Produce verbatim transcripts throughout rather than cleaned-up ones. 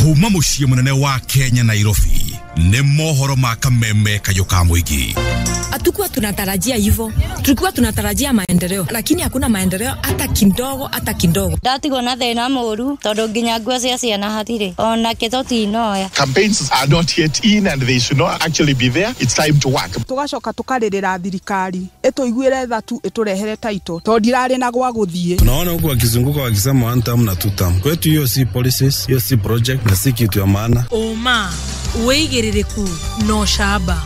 Kuma muciĩ munene wa Kenya Nairobi nĩ mohoro ma kameme kayũ ka mũingĩ. Hatukuwa tunatarajia hivyo, tulikuwa tunatarajia maendeleo, lakini hakuna maendeleo hata kidogo, hata kidogo. Ndatigwo na thĩna mũru tondũ nginya nguo cia ciana hatirĩ ona kĩto tinoya. Campaigns are not yet in and they should not actually be there. It's time to work. Tugacoka tukarĩrĩra thirikari ĩtũiguĩre tha tu ĩtũrehere title tondũ ndirarĩ na gwa gũthiĩ. Tunaona huku wakizunguka wakisema one term na two term. Kwetu hiyo si policies, hiyo si project na si kitu ya maana. Ũma wĩigĩrĩrĩku no camba.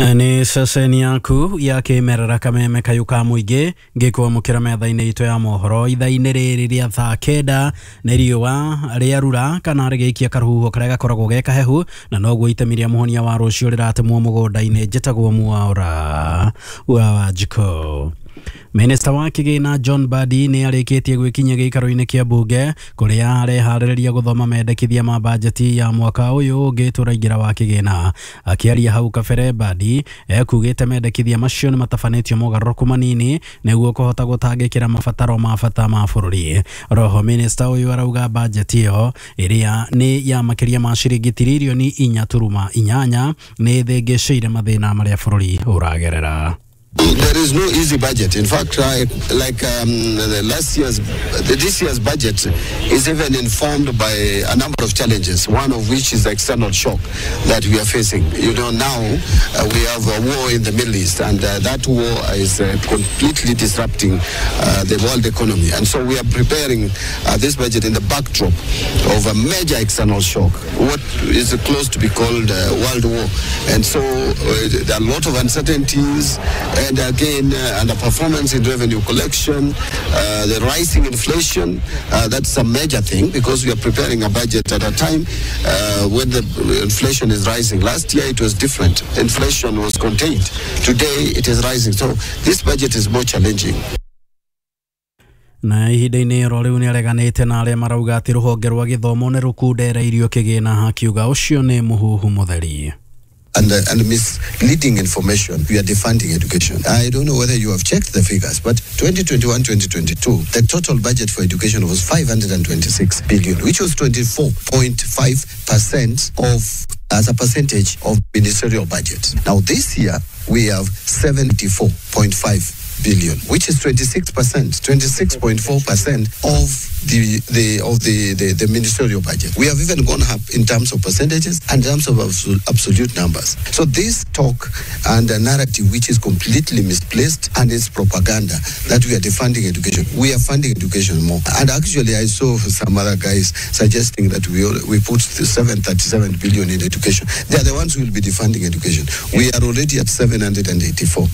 Nĩ ceceni yaku ya kĩmerera kameme kayũ ka mũingĩ ngĩkwamũkĩra metha-inĩ itũ ya mohoro ithaa-inĩ rĩrĩ rĩa thaa kenda nĩ riũa rĩarura kana rĩgĩikia karũhuho karĩa gakoragwo ge kahehu na noguo itemi rĩa mũhonia wa rũciũ rĩratemwo mũgũnda-inĩ. Njĩtagwo Mwaura wa Wanjikũ. Minista wa kĩgĩna John Mbadi nĩ arĩkĩtie gwĩkinyia gĩikaro-inĩ kĩa mbunge kũrĩa areharĩrĩria gũthoma mendekithia ma bajeti ya mwaka ũyũ ũngĩ tũraingĩra wa kĩgĩna. Akĩaria hau kabere, Mbadi ekugĩte mendekithia macio nĩ matabanĩtio mogarũrũku manini nĩguo kũhota gũtangĩkĩra mabataro ma bata ma bũrũri. Roho minista ũyũ arauga bajeti ĩyo ĩrĩa nĩ ya makĩria ma ciringi tiririoni inya turuma inyanya nĩ ĩthĩngĩcĩire mathĩna marĩa bũrũri ũragerera. There is no easy budget. In fact, uh, like um, the last year's, the, this year's budget is even informed by a number of challenges, one of which is the external shock that we are facing. You know, now uh, we have a war in the Middle East, and uh, that war is uh, completely disrupting uh, the world economy. And so we are preparing uh, this budget in the backdrop of a major external shock, what is close to be called uh, world war. And so uh, there are a lot of uncertainties. And again, uh, underperformance in revenue collection, uh, the rising inflation, uh, that's a major thing because we are preparing a budget at a time uh, when the inflation is rising. Last year it was different. Inflation was contained. Today it is rising. So this budget is more challenging. Na ihinda-inĩ oro rĩu nĩareganĩte na arĩa marauga atĩ rũhonge rwa gĩthomo nĩ rũkundereirio kĩgĩna, akiuga ũcio nĩ mũhuhu mũtheri. And, uh, and misleading information. We are defunding education. I don't know whether you have checked the figures, but twenty twenty-one twenty twenty-two, the total budget for education was five hundred twenty-six billion, which was twenty-four point five percent of, as a percentage of ministerial budget. Now this year, we have seventy-four point five billion, which is twenty-six percent, twenty-six point four percent of the, the of the, the, the ministerial budget. We have even gone up in terms of percentages and in terms of absolute numbers. So this talk and a narrative which is completely misplaced and is propaganda that we are defunding education. We are funding education more. And actually I saw some other guys suggesting that we all, we put the seven hundred thirty-seven billion in education. They are the ones who will be defunding education. We are already at seven hundred eighty-four.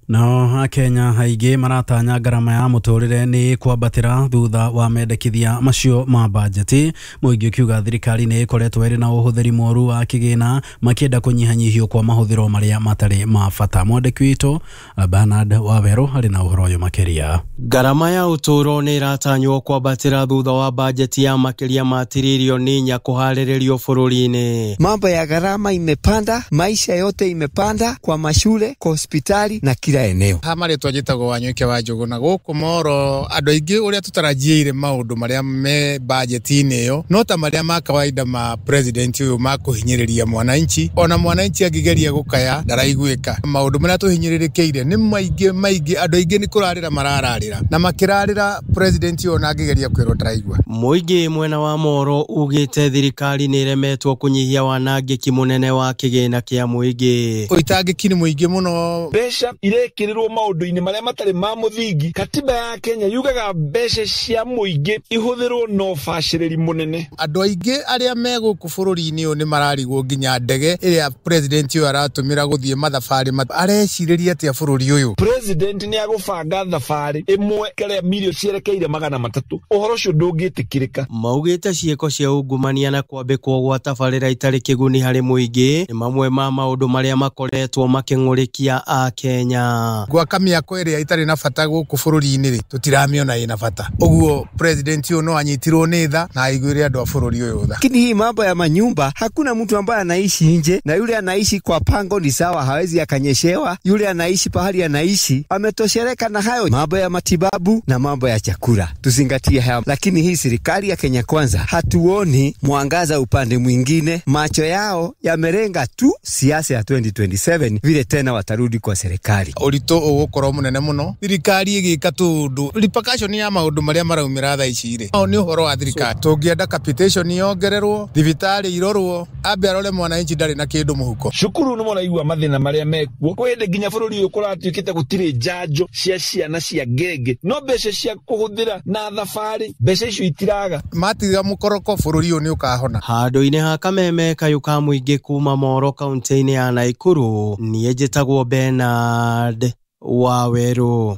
Nao Akenya aingĩ maratanya ngarama ya mũtũrĩre nĩ kwambatĩra thutha wa mendekithia macio ma bajeti. Mũingĩ ũkiuga thirikari nĩ ĩkoretwo ĩrĩ na ũhũthĩri mũru wa kĩgĩna makĩenda kũnyihanyihio kwa mahũthĩro marĩa matarĩ ma bata. Mwandĩki witũ Bernard Wawerũ arĩ na ũhoro ũyũ makĩria. Ngarama ya ũtũũro nĩ ĩratanywo kwambatĩra thutha wa bajeti ya makĩria ma tiririoni inya kũharĩrĩrio bũrũri-inĩ. Mambo ya gharama imepanda, maisha yote imepanda, kwa mashule, kwa hospitali na kila eneo. Ha marĩtwa njĩtagwo Wanyoike wa Njũgũ na gũkũ Moro andũ aingĩ ũrĩa tũtarajiĩire maũndũ marĩa me bajeti-inĩ ĩyo no ta marĩa ma kawaida ma president ũyũ ma kũhinyĩrĩria mwananchi. Ona mwananchi angĩgeria gũkaya ndaraiguĩka. Maũndũ marĩa tũhinyĩrĩrĩkĩire nĩ maingĩ maingĩ, andũ aingĩ nĩ kũrarĩra marararĩra na makĩrarĩra president ũyũ ona angĩgeria kwĩrwo ndaraigua. Mũingĩ mwena wa Moro ugĩte thirikari nĩ ĩremetwo kũnyihia wanangĩki mũnene wa kĩgĩna kĩa mũingĩ. Ũitangĩki nĩ mũingĩ mũno. Mbeca irekirirwo maũndũ-inĩ marĩa matarĩ ma mũthingi. Katiba ya Kenya yugaga mbeca cia mũingĩ ihũthĩrwo na ũbacĩrĩri mũnene. Andũ aingĩ arĩa me gũkũ bũrũri-inĩ ũyũ nĩ mararigwo nginya ndege ĩrĩa president ũyũ aratũmĩra gũthiĩ mathabarĩ arecirĩria atĩa bũrũri ũyũ. President nĩ agũbanga thabarĩ ĩmwe kĩrĩa milioni cierekeire magana matatũ. Ũhoro ũcio ndũngĩtĩkĩrĩka. Maugĩte ciĩko cia ungumania na kwambĩkwo gwa tabarĩra itarĩ kĩguni harĩ mũingĩ nĩ mamwe ma maũndũ marĩa makoretwo makĩng'ũrĩkia a Kenya. ciana. Gwaka mĩako ĩrĩa ĩtarĩ na bata gũkũ bũrũri-inĩ rĩ, tũtiramĩona ĩna bata. Ũguo president ũyũ no anyitirwo nĩ tha na aiguĩre andũ a bũrũri ũyũ tha. Lakini hii mambo ya manyumba, hakuna mtu ambaye anaishi nje, na yule anaishi kwa pango ni sawa, hawezi akanyeshewa. Yule anaishi pahali anaishi ametoshereka na hayo. Mambo ya matibabu na mambo ya chakula tuzingatie hayo. Lakini hii serikali ya Kenya Kwanza hatuoni mwangaza upande mwingine, macho yao yamerenga tu siasa ya twenty twenty-seven vile tena watarudi kwa serikali. Ũritũ ũgũkorwo mũnene mũno thirikari ĩgĩka tũndũ repercussion ya maũndũ marĩa maraumĩra thaa ici rĩ, nĩ ũhoro wa thirikari. Tũngĩenda capitation yongererwo, thibitarĩ irorwo, ambe arore mwananchi ndarĩ na kĩndũ mũhuko. Cukuru nĩ mũraigua mathĩna marĩa mekuo kwĩ hĩndĩ nginya bũrũri ũyũ kũratuĩkĩte gũtirĩ njanjo cia ciana cia ngenge, no mbeca cia kũhũthĩra na thabarĩ mbeca icio itiraga. Matiga mũkoroko bũrũri ũyũ nĩ ũkahona. Handũ-inĩ ha kameme kayũ ka mũingĩ kuma Moro kaunti-inĩ ya Naikuru, niĩ njĩtagwo Bernard Waweru.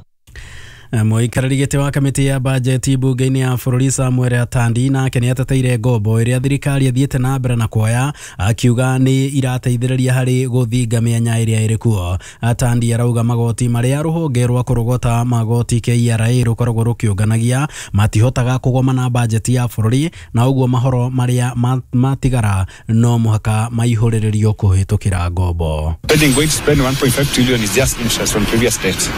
Mũikarĩri gĩtĩ wa kamĩtĩ ya bajeti mbunge-inĩ ya bũrũri Samuel Atandi nake nĩ ateteire ngombo ĩrĩa thirikari ĩthiĩte na mbere na kuoya, akiuga nĩ irateithĩrĩria harĩ gũthinga mĩanya ĩrĩa ĩrĩ kuo. Atandi arauga magoti marĩa rũhonge rwa kũrogota magoti K R A rũkoragwo rũkĩũnganagia matihotaga kũgomana bajeti ya bũrũri, na ũguo mahoro marĩa matigara no mũhaka maihũrĩrĩrio kũhĩtũkĩra ngombo. Spending going to spend one point five trillion is just interest on previous debt.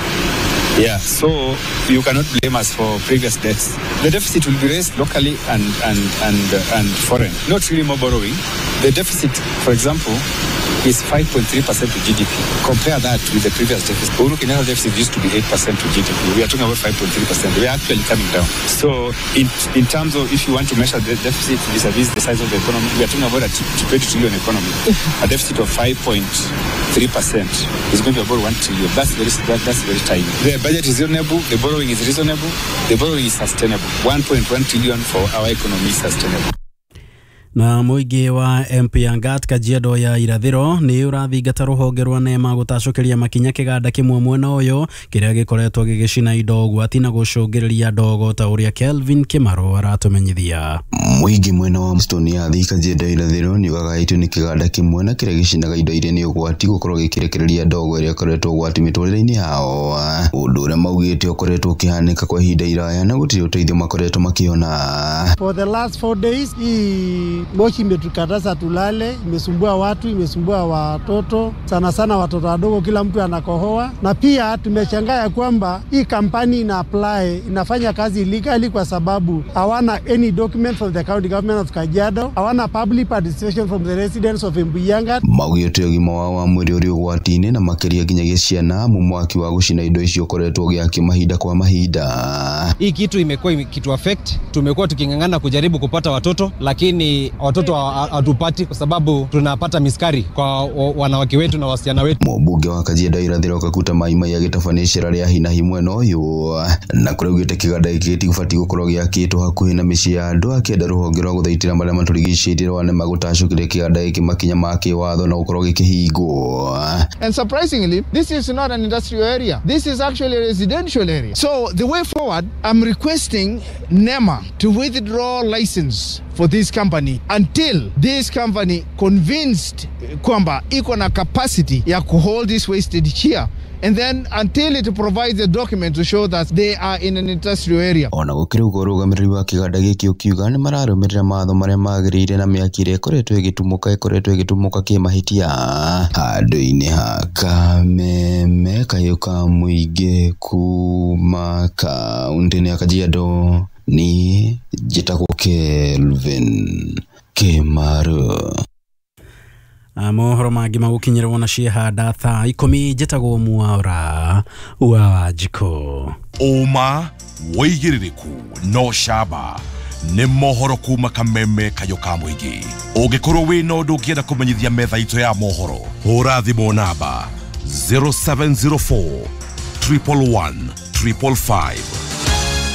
Yeah, so you cannot blame us for previous debts. The deficit will be raised locally and and and uh, and foreign. Not really more borrowing. The deficit, for example, is five point three percent to G D P. Compare that with the previous deficit. Uhuru Kenyatta deficit used to be eight percent to G D P. We are talking about five point three percent. We are actually coming down. So in in terms of if you want to measure the deficit vis-a-vis the size of the economy, we are talking about a twenty trillion economy. A deficit of five point three percent is going to be about one trillion. That's very that, that's very tiny. The budget is reasonable, the borrowing is reasonable, the borrowing is sustainable. one point one trillion for our economy is sustainable. Na mũingĩ wa M P Angat Kajiado ya irathĩro nĩ ũrathingata rũhonge rwa NEMA gũtacũkĩria makinya kĩganda kĩmwe mwena ũyũ kĩrĩa gĩkoretwo gĩgĩcina indo ũgwati na gũcũngĩrĩria ndogo ta ũrĩa Kelvin Kimaro aratũmenyithia. Mũingĩ mwena wa Mstone ya thĩ Kajiado irathĩro nĩ ũgagaĩtio nĩ kĩganda kĩmwe na kĩrĩa gĩcinaga indo iria nĩ ũgwati gũkorwo gĩkĩrekereria ndogo ĩrĩa ĩkoretwo ũgwati mĩtũrĩre-inĩ yao, ũndũ ũrĩa maugĩte ũkoretwo ũkĩhanĩka kwa ihinda iraya na gũtirĩ ũteithio makoretwo makĩona. For the last four days hii moshi imetukataza tulale, imesumbua watu, imesumbua watoto, sana sana watoto wadogo, kila mtu anakohoa. Na pia tumeshangaa ya kwamba hii kampani ina apply, inafanya kazi illegally kwa sababu hawana any document from the county government of Kajiado, hawana public participation from the residents of Embuyangat. Maugĩte ũgima wao wa mwĩrĩ ũrĩ ũgwati-inĩ na makĩria nginyagia ciana, amu mwaki wa gũcina indo icio ũkoretwo ũgĩakio mahinda kwa mahinda. Hii kitu imekuwa kitu affect, tumekuwa tuking'ang'ana kujaribu kupata watoto lakini watoto hatupati kwa sababu tunapata miskari kwa wanawake wetu na wasichana wetu. Mũmbunge wa Kajiado irathĩro Kakuta Maimai agĩtabania icera rĩa hi na hi mwena ũyũ na kũrĩa augĩte kĩganda gĩkĩ gĩtigũbatiĩ gũkorwo gĩakĩtwo hakuhĩ na mĩciĩ ya andũ, akĩenda rũhonge rwa gũthaitĩra marĩa matũrigicĩirie rwa NEMA gũtacũkĩria kĩganda gĩkĩ makinya ma kĩwatho na gũkorwo gĩkĩhingwo. And surprisingly, this is not an industrial area. This is actually a residential area. So the way forward, I'm requesting NEMA to withdraw license for this company until this company convinced kwamba iko na capacity ya kuhold this wastage here, and then until it provides a document to show that they are in an industrial area. Ona gũkĩrĩ ũguo ũrũgamĩrĩri wa kĩganda gĩkĩ ũkiuga nĩ mararũmĩrĩra mawatho marĩa magĩrĩire na mĩaki ĩrĩa ĩkoretwo ĩgĩtumũka ĩkoretwo ĩgĩtumũka kĩmahĩtia. Handũ-inĩ ha kameme kayũ ka mũingĩ kuma kaũntĩ-inĩ ya Kajiado, ni njĩtagwo Kelvin Kimaro. Mohoro mangĩ magũkinyĩrwo na ciehanda thaa ikũmi. Njĩtagwo Mwaura wa Wanjikũ. Ũma wĩigĩrĩrĩku no camba nĩ mohoro kuma kameme kayũ ka mũingĩ. Ũngĩkorwo wĩna ũndũ ũngĩenda kũmenyithia metha itũ ya mohoro, hũra thimũ namba zero seven zero four triple one triple five.